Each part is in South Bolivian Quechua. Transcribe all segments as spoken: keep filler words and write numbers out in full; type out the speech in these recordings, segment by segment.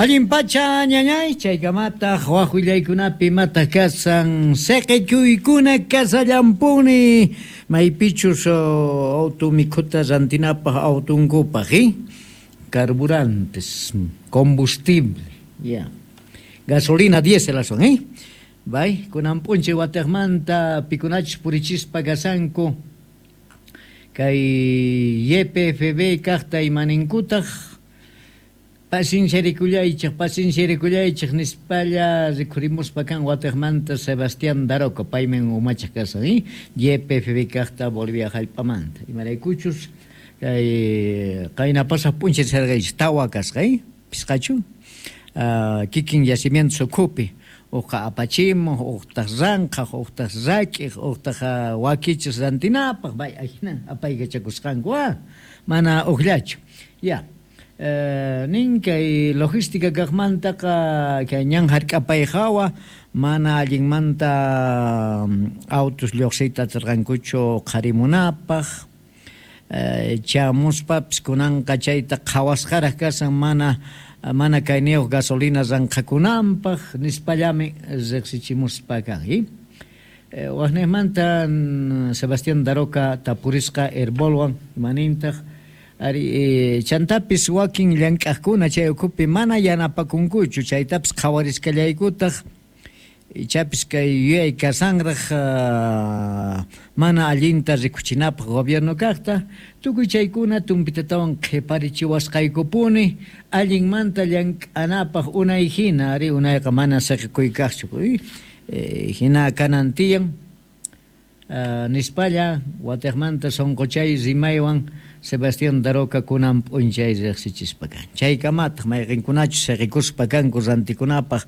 Allin pacha ñañay, chaykamataq waj willaykunapi imataq kasan siqikuykuna kasallampuni maypichus auto mikhuta rantinapaq autonkupaq, ¿eh? Carburantes, combustible, ya. Gasolina, diésel son, ¿eh? Bay, kunan p'unchay wataqmanta pikunachus purichispa kasanku kay Y P F B kaqta imaninkutaq pacienciarikullaychik, pacienciarikullaychik nispalla rikhurimuspa kan wataqmanta Sebastián Daroca, payman umachaq kasan, ¿eh? Y P F B kaqta Bolivia hallp'amanta. Imaraykuchus kay qayna pasaq p'unchay sarqaychik tawa kasqa, ¿eh? Pisqachu? Uh, kikin yacimientos ukhupi uqa apachimuq, uqtaq ranqaq, uqtaq rak'iq, uqtaq wakichis rantinapaq, bay ajina apaykachakusqanku, ah, mana uqllachu. Ya. Uh, nin kay logística kaqmantaqa kay ñan hark'apay hawa mana allinmanta autos lluqsiyta atirqankuchu qharimunapaq. Uh, chamuspapis kunanqa chayta qhawasqaraq kasan mana mana kayniyuq gasolina ranqakunanpaq nispallami riqsichimuspa kan, ¿eh? Waqniqmanta Sebastián Daroca tapurisqa Herbolwan imanintaq ari eh, chantapis wakin llank'aqkuna chay ukhupi mana yanapakunkuchu chaytapis qhawariskallaykutaq ichapis kay yuyay kasanraq uh, mana allinta rikuchinapaq gobierno kaqta tukuy chaykuna tumpitatawan qhiparichiwasqaykupuni allinmanta llank'anapaq unay hina ari unayqa mana siqikuy kaqchu eh, hina kanan tiyan uh, nispalla watiqmanta sunquchay rimaywan Sebastián Daroca kunan p'unchay riqsichispa kan chaykamataq mayqinkunachus siqikuspa kanku rantikunapaq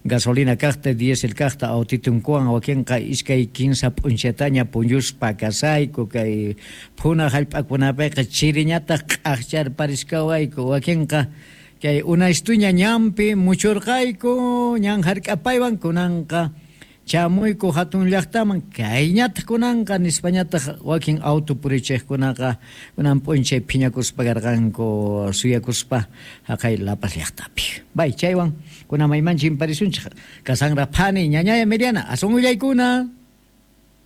gasolina kaqta, diésel kaqta, autitunkuwan wakinqa iskay kinsa p'unchataña puñuspa kasayku kay phuna hallp'akunapiqa chiriñataq q'aqcharpariskawayku wakinqa kay unaystuña ñanpi muchurqayku ñan hark'apaywan kunanqa chamuyku hatun llaqtaman kayñataq kunanqa nispañataq wakin auto purichiqkunaqa kunan p'unchay phiñakuspa karqanku suyakuspa haqay La Paz llaqtapi. Bay chaywan kuna maymanchi imparisunchik kasanra phani ñañaya Miriana asun willaykuna.